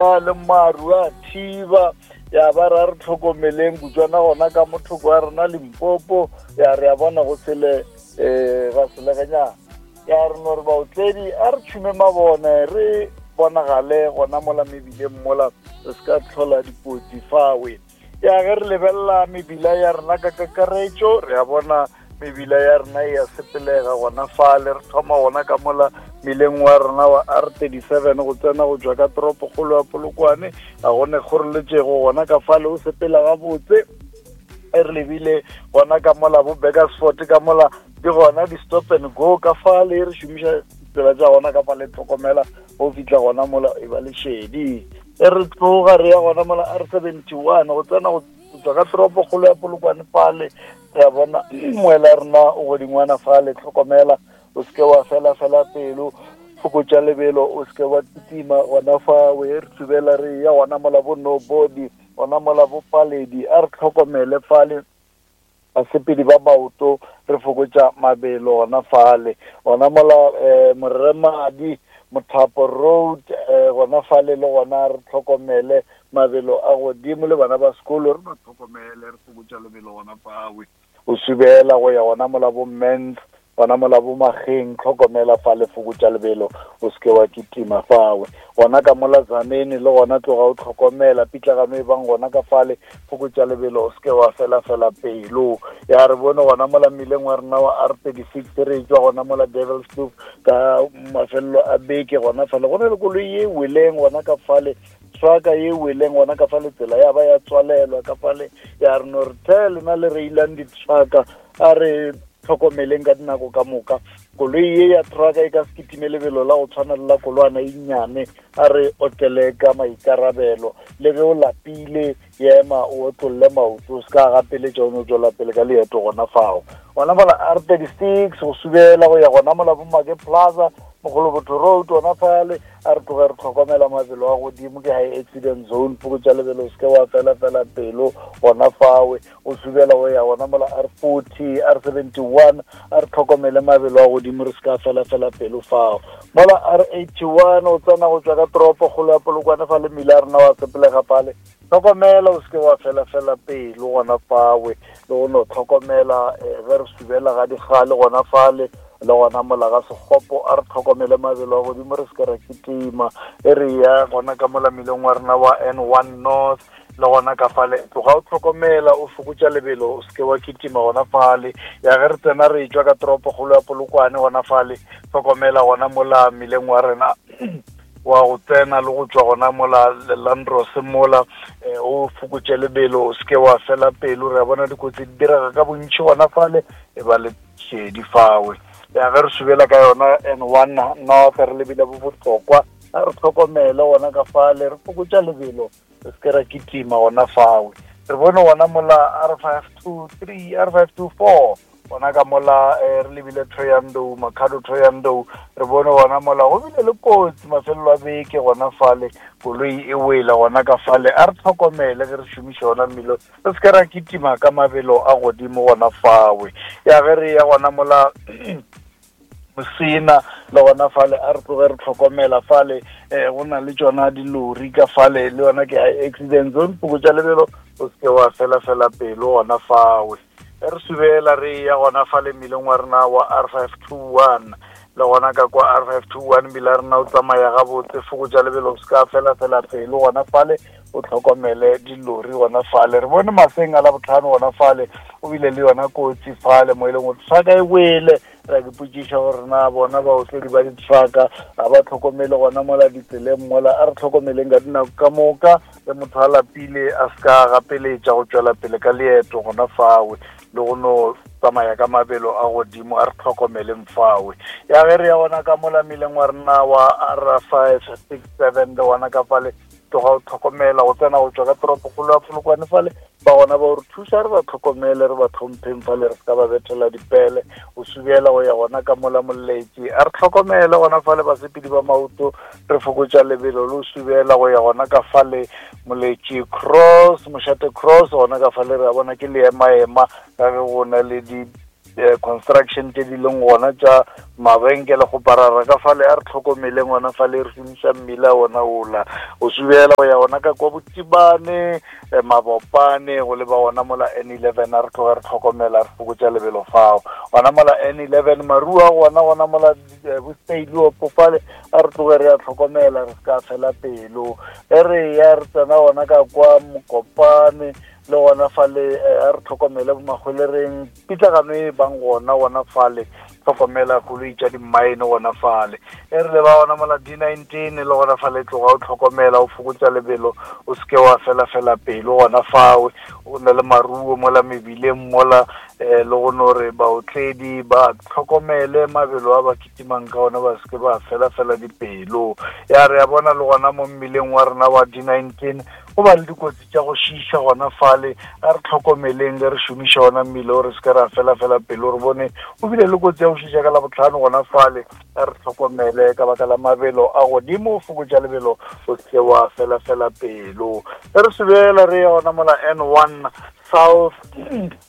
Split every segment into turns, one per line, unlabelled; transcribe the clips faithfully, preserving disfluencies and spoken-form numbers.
Le maru a thiba ya ba ra re tlhokomeleng kutswana gona ka mothoko wa rena Limpopo ya re a bona go sele um ga seleganyana ya re no re baotledi a re tšhume mabone re bonagale gona mola mebileng mola re se ka tlhola dikotsi fawe. Ya ge re lebelela mebila ya rena ka kakaretšo, re a bona mebila ya rena e ya sepelega gona fale. Re thoma gona ka mola mileng wa rena wa R thirty seven go tsena go tšwa ka toropokgolo ya Polokwane, ga gone kgoreletšego gona ka fale, o sepela gabotse. E re lebile gona ka mola bo Burgersfort ka mola di gona di-stop and go ka fale, re šomiša tsela tša gona ka fale, tlhokomela go fihla gona mola e ba lešedi. E re tloga re ya gona mola R seventy one go tsena go tswa ka toropokgolo ya Polokwane fale, re a bona moela rena o godingwana fale, tlhokomela o seke wa fela fela pelo, fokotša lebelo, o seke wa kitima gona fa. We re tsubela re ya gona mola bo Nobody, gona mola bo Paledi, a re tlhokomele fale basepedi ba maoto, re fokotša mabelo gona fale. Gona mola um Moremadi Mothapo Road um gona fale le gona re tlhokomele mabelo a godimo, le bana ba sekolo re ba tlhokomele, re fokotša lebelo gona fawe. O subela go ya gona mola bo Mens, gona mola bo Mageng, tlhokomela fale, fokotša lebelo, o seke wa kitima fawe. Gona ka mola Tzaneen le gona tloga o tlhokomela pitlagano e bang gona ka fale, fokotša lebelo, o seke wa fela fela pelo. Ya re bone gona mola mmileng wa rena wa R thirty six re tšwa gona mola Devils Kloof ka mafelelo a beke gona fale, go na le koloi ye weleng gona ka fale, trucka ye weleng gona ka fale, tsela ya ba ya tswalelwa ka fale. Ya re no re the lena le reilang di-trucka, a re tlhokomeleng ka dinako ka moka, koloi ye ya trucka e ka se kitime lebelo la go tshwana le la kolwana e nnyane, a re otlele ka maikarabelo, le ge o lapile ema o otlolle maoto, o se ka gapeletša o no tswela pele ka leeto gona fao. Gona mola R thirty six go subela go ya gona mola bo Make Plaza Mogolobotho Road gona fale, a re tloge re tlhokomela mabelo a godimo, ke high accident zone, fokotša lebelo, o seke wa fela fela pelo gona fawe. O subela go ya gona mola R forty, R seventy one, a re tlhokomele mabelo a godimo, re se ka fela fela pelo fao. Mola R eighty one o tsena go tswa ka toropokgolo ya Polokwane fa le mmila rena wa sepelega fale, tlhokomela o seke wa fela fela pelo gona fawe, le go no tlhokomela ge re subela ga digale gona fale, le gona mola ga Sekgopo, a re tlhokomele mabelo a godimo, re se ke ra kitima. E re ya gona ka mola mmileng wa rena wa N one North le gona ka fale, tloga o tlhokomela, o fokotša lebelo, o seke wa kitima gona fale. Ya ge re tsena re tšwa ka toropokgolo ya Polokwane gona fale, tlhokomela gona mola mmileng wa rena wa go tsena le go tšwa gona mola Landros mola, o fokotše lebelo, o seke wa fela pelo. Re a bona dikotsi di direga ka bontši gona fale, e ba le šedi fawe. Ya ge re subela ka yona N one North re lebile bo Botlokwa, a re tlhokomele gona ka fale, re fokotša lebelo, re seke ra kitima gona fawe. Re bone gona mola R five two three, R five two four gona ka mola re lebile Thohoyandou, Makhado Thohoyandou, re bone gona mola go bile le kotsi mafelelo a beke gona fale, koloi e wela gona ka fale. A re tlhokomele ge re šomiša gona mmilo, re seke ra kitima ka mabelo a godimo gona fawe. Ya ge re ya gona mola Mosina le gona fale, a re tloge re tlhokomela fale, um go na le tšona dilori ka fale, le yona ke high accident zone, fokotša lebelo, o seke wa fela fela pelo gona fawe. Re subela re ya gona fale mmileng wa rena wa R five two one, le gona ka kwa R five two one mmila rena o tsamaya gabotse, fokotša lebelo, o se ka fela fela pelo gona fale, o tlhokomele dilori gona fale. Re bone maseng a Labohlano gona fale, o bile le yona kotsi fale mo e leng gore trucka e wele. Ra ke potšiša gore na bona baotledi ba di-trucka ga ba tlhokomele gona mola ditseleng mola, a re tlhokomeleng ka dinako ka moka, ge motho a lapile a se ka gapeletša go tšwela pele ka leeto gona fawe, le go no tsamaya ka mabelo a godimo, a re tlhokomeleng fawe. Ya ge re ya gona ka mola mmileng wa rena wa R five six seven le gona ka fale, tloga o tlhokomela go tsena go tšwa ka toropokgolo ya Polokwane fale, ba gona ba re thuša, re ba tlhokomele, re ba tlhompheng fale, re se ka ba bethela dipele. O subela go ya gona ka mola Moletši, a re tlhokomele gona fale basepedi ba maoto, re fokotša lebelo, le o subela go ya gona ka fale Moletši Cross, Mošate Cross gona ka fale, re a bona ke leemaema ka ge go na le di di-construction tše di leng gona tša mabenkele go parara ka fale, a re tlhokomeleng gona fale, re šomiša mmila ona ola o subela go ya gona ka kwa Botibane, Mabopane, go leba gona mola N eleven. A re tloge re tlhokomela, re fokotša lebelo fao gona mola N eleven, marua gona gona mola Bostailiopo fale, a re tloge re a tlhokomela, re se ka fela pelo. E re ya re tsena gona ka kwa Mokopane le gona fale, a re tlhokomele bomakgwelereng, pitlagano e bang gona gona fale, tlhokomela koloi tša dimmaene gona fale. E re le ba gona mola D nineteen le gona fale, tloga o tlhokomela, o fokotša lebelo, o seke wa fela fela pelo gona fawe. O na le maruo mola mebileng mola, um le go no re baotledi ba tlhokomele mabelo a ba kitimang ka ona, ba seke ba fela fela dipelo. Ya re ya bona le gona mo mmileng wa rena wa D nineteen go ba le dikotsi tša go šiša gona fale, a re tlhokomeleng ge re šomiša ona mmile o, re seke ra fela fela pelo. Re bone o bile le kotsi ya go šiša ka Labohlano gona fale, a re tlhokomele ka baka la mabelo a godimo, o fokotša lebelo, o seke wa fela fela pelo. Ge re sebela re ya gona mola N one South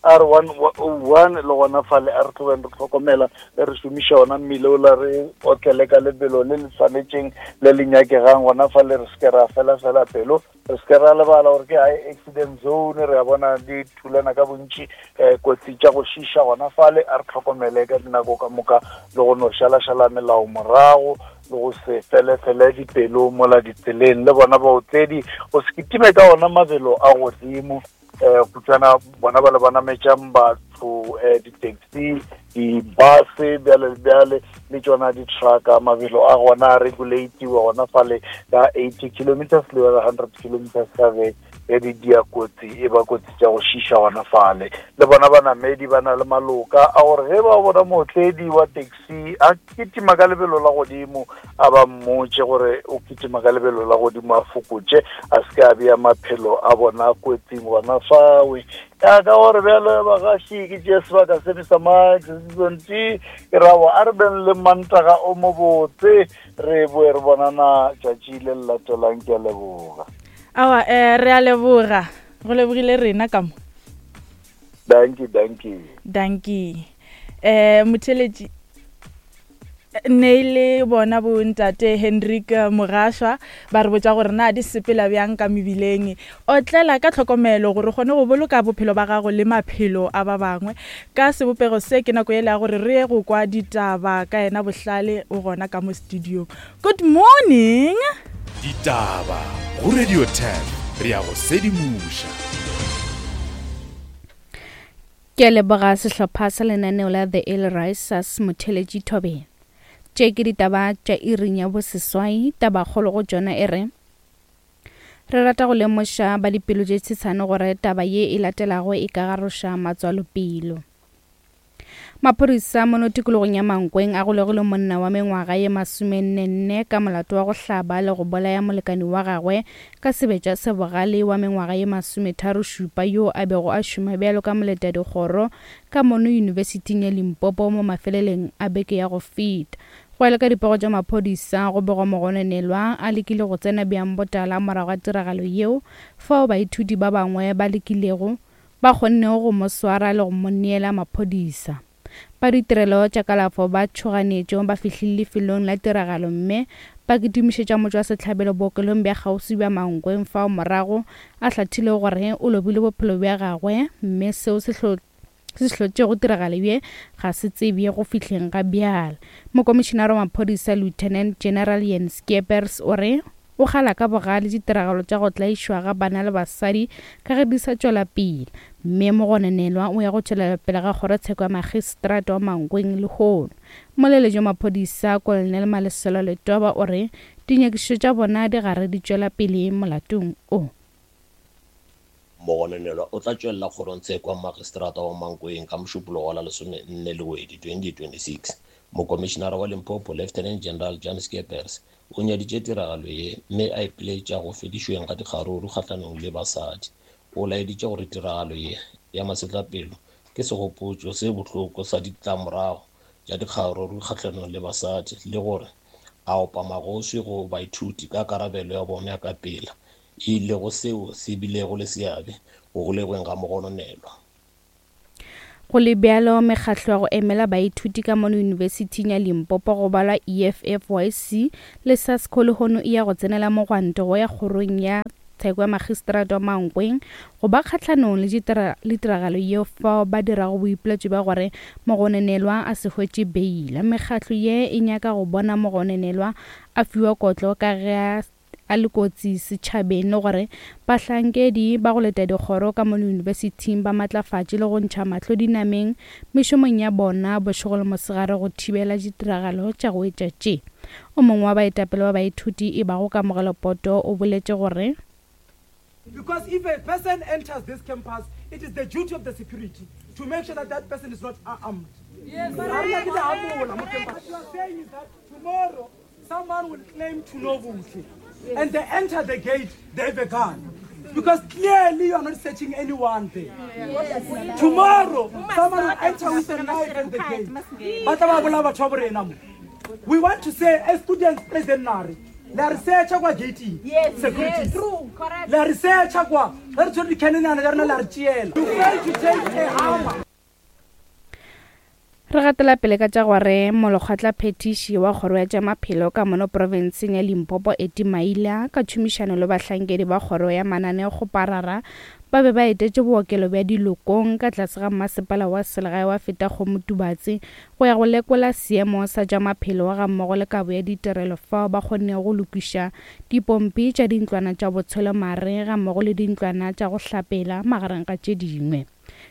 R one oh one le gona fale, a re tlogeng re tlhokomela ge re šomiša ona mmile ola, re otlele ka lebelo le le tshwanetšeng le le nyakegang gona fale, re seke ra fela fela pelo. Re seke ra lebala gore ke high accident zone, re a bona di thulana ka bontši, um kotsi tša go šiša gona fale, a re tlhokomele ka dinako ka moka le go no šalašala melao morago le go se felefele dipelo mola ditseleng. Le bona baotledi go se kitime ka ona mabelo a godimo, um kutswana bona ba le ba nametšang batho, um di-taxi, di-bus, bjale le bjale, le tšona di-trucka, mabelo a gona a regulatiwa gona fale ka eighty kilometers le yona hundred kilometers ka ge ge di dia kotsi, e ba kotsi tša go šiša gona fale. Le bona banamedi ba na le maloka a gore ge ba bona mootledi wa taxi a kitima ka lebelo la godimo, a ba mmotše gore o kitima ka lebelo la godimo, a fokotše, a se ke a bea maphelo a bona kotsing gona fawe. Ya ka gore bjale bagaši ke tšea sebaka se Mister Mike Season T, ke rabo a re beng le mantaga o mo botse, re boe re bonana tšatši le le latelang. Ke a leboga.
Awa, eh re a leboga, go lebogile rena ka mo.
Dankie, dankie.
Dankie. Eh motheletši ne le bona bo ntate Hendrik Mogaswa ba re botša gore na di sepela bjang ka mebileng. Otlela ka tlhokomelo gore o kgone go boloka bophelo ba gago le maphelo a ba bangwe. Ka sebopego se ke nako ele ya gore re ye go kwa ditaba ka yena Bohlale o gona ka mo studio. Good morning.
Ditaba go Radio ten, re ya go sedimoša.
Ke a leboga sehlopha sa lenaneo la The Early Risers motheletši Thobela. Tše ke ditaba tša iring ya boseswai, tabakgolo go tšona e re re rata go lemoša ba dipelo tše tshetshane gore taba ye e latelago e ka garoša matswalopelo. Maphodisa mono tikologong ya Mankweng a golegile monna wa mengwaga ye masomennenne ka molato wa go hlaba le go bolaya molekani wa gagwe ka sebetša se bogale wa mengwaga ye masometharo šupa yo a bego a šoma bjalo ka moletadikgoro ka mono Yunibesithing ya Limpopo mo mafeleleng a beke ya go feta. Go ya le ka dipego tša maphodisa, go begwa mogononelwa a lekile go tsena bjang botala morago ga tiragalo yeo, fao baithuti ba bangwe ba lekilego ba kgonnego go mo swara le go mo neela maphodisa. Ba ditirelo tša kalafo ba tšhoganetšo ba fihlile lefelong la tiragalo mme ba kitimišetša motšwasehlabelo bookelong bja kgauswi bja Mankweng fao morago a hlathile gore o lobile bophelo bja gagwe, mme seo se se hlotšego tiragalo ye ga se tsebje go fihleng ga bjale. Mokomišenare wa maphodisa Lieutenant General Jan Skeepers o re o kgala ka bogale ditiragalo tša go tlaišwa ga bana le basadi ka ge di sa tšwela pele, mme mogononelwa o ya go tšwelela pele ga kgorotsheko ya magistrata wa Mankweng lehono. Moleletši wa maphodisa Colonel Malesela Letoba o re dinyakišišo tša bona di gare di tšwela pele molatong o.
Mogononelwa o tla tšwelela kgorongtsheko ya magistrata wa Mankweng ka mošupologo wa la lesomenne Lewedi twenty twenty-six. Mokomišenare wa Limpopo Lieutenant General Jan Skeepers o nyaditše tiragalo ye mme a ipiletša go fedišweng ga dikgaruru kgahlanong le basadi. O laeditše gore tiragalo ye ya masetlapelo ke segopotšo se bohloko sa ditlamorago tša dikgaruru kgahlanong le basadi, le gore a opa magoswi go baithuti ka karabelo ya bona ya ka pela, e lego seo se bilego le seabe go golegweng ga mogononelwa.
Go le bjalo, mekgatlo ya go emela baithuti ka mono Yunibesithing ya Limpopo go balwa E F F Y C le SASCO lehono e ya go tsenela mogwanto go ya kgorong ya tsheko ya magistrata wa Mankweng go ba kgahlanong le tiragalo yeo fao ba dirago boipiletšo bja gore mogononelwa a se hwetše beila. Mekgatlo ye e nyaka go bona mogononelwa a fiwa kotlo ka ge a le kotsi setšhabeng le gore bahlankedi ba go leta dikgoro ka mono yunibesithing ba matlafatše le go ntšha mahlo dinameng mešomong ya bona bošego le mosegare go thibela ditiragalo tša go etša tše. O mongwe wa baetapele ba baithuti e bago Kamogelo Poto o boletše gore,
because if a person enters this campus, it is the duty of the security to make sure that that person is not armed. Yes. What you are saying is that tomorrow someone will claim to know Buhle, yes, and they enter the gate, they have a gun. Because clearly you are not searching anyone there. Yes. Tomorrow, someone will enter with a knife at the gate. We want to say, as students present, la research kwa gate, yes, security, true, correct. La research kwa re tswe di cannon ya rena la re tšeela. You fail to take a hammer.
Re gatela pele ka tša gore molekgotla phetiši wa kgoro ya tša maphelo ka mono profenseng ya Limpopo Eti Maila ka tšhomišano le bahlankedi ba kgoro ya mananeokgoparara ba be ba etetše bookelo bja Dilokong ka tlase ga masepala wa selegae wa Fetakgomo Tubatse go ya go lekola seemo sa tša maphelo ga mmogo le kabo ya ditirelo fao ba kgonnego go lokiša dipompi tša dintlwana tša botshwelomare ga mmogo le dintlwana tša go hlapela magareng ga tše dingwe.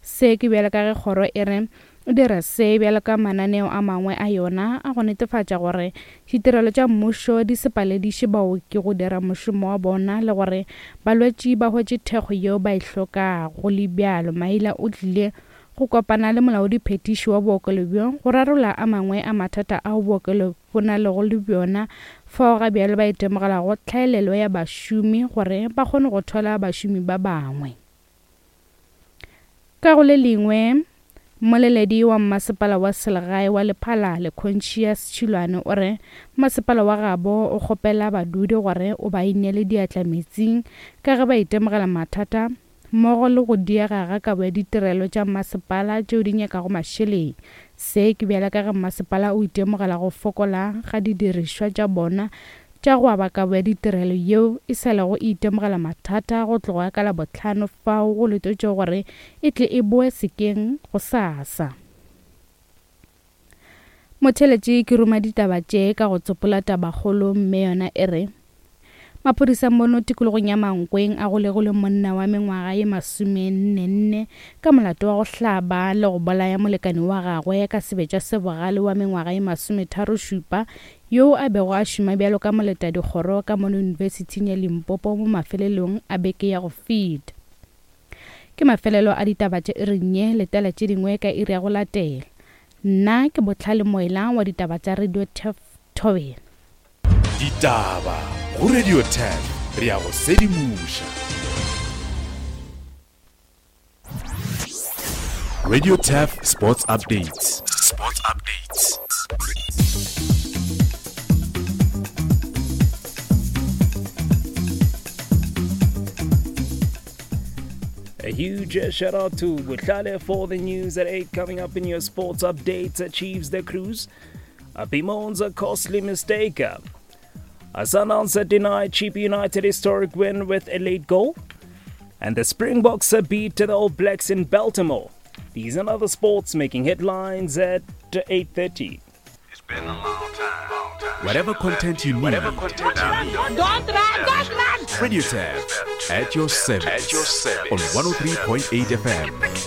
Se ke bjalo ka ge kgoro e re dira se bjalo ka mananeo a mangwe a yona a go netefatša gore ditirelo tša mmušo di se palediše baoki go dira mošomo wa bona le gore balwetši ba hwetše thekgo yeo ba e hlokago. Le bjalo, Maila o tlile go kopana le molaodiphetiši wa bookelo bjo go rarolla a mangwe a mathata ao bookelo bo na lego le bjona fao ga bjalo ba itemogelago tlhaelelo ya bašomi gore ba kgone go thola bašomi ba bangwe. Ka go le lengwe, mmoleledi wa mmasepala wa selegae wa Lephalale Conscious Tšhilwane o re masepala wa gabo o kgopela badudi gore o ba ineele diatla metsing ka ge ba itemogela mathata mmogo le go diega ga kabo ya ditirelo tša masepala tšeo di nyakago mašeleng. Se ke bjala ka ge masepala o itemogela go fokola ga didirišwa tša bona tša go aba kabo ya ditirelo yeo e sa lego e itemogela mathata go tloga ka Labohlano fao go letetšwe gore e tle e boe sekeng go sasa. Motheletši ke ruma ditaba tše ka go tsopola tabakgolo mme yona e re maphodisa mono tikologong ya Mankweng a golegile monna wa mengwaga ye masomennenne ka molato wa go hlaba le go bolaya molekane wa gagwe ka sebetša se bogale wa mengwaga ye masometharo-šupa yoo a bego a šoma bjalo ka moletadikgoro ka mono Yunibesithing ya Limpopo mo mafelelong a beke ya go feta. Ke mafelelo a ditaba tše iring ye, letela tše dingwe ka iri ya go latela. Nna ke Botlhale Moela wa ditaba tša Radio Thobela.
Ditaba go Radio ten, re ya go sedimoša. Radio Turf Sports Updates. Sports Updates.
A huge shout out to Botlhale for the news at eight. Coming up in your sports updates, achieves the cruise. Bemoans a costly mistake. Sundowns deny Chippa United historic win with a late goal. And the Springboks beat the All Blacks in Baltimore. These and other sports making headlines at eight thirty.
It's been a long time. Long time.
Whatever content you need.
Whatever content you need.
Don't run, don't run.
Radio Turf at your service.
At your service.
On one oh three point eight F M.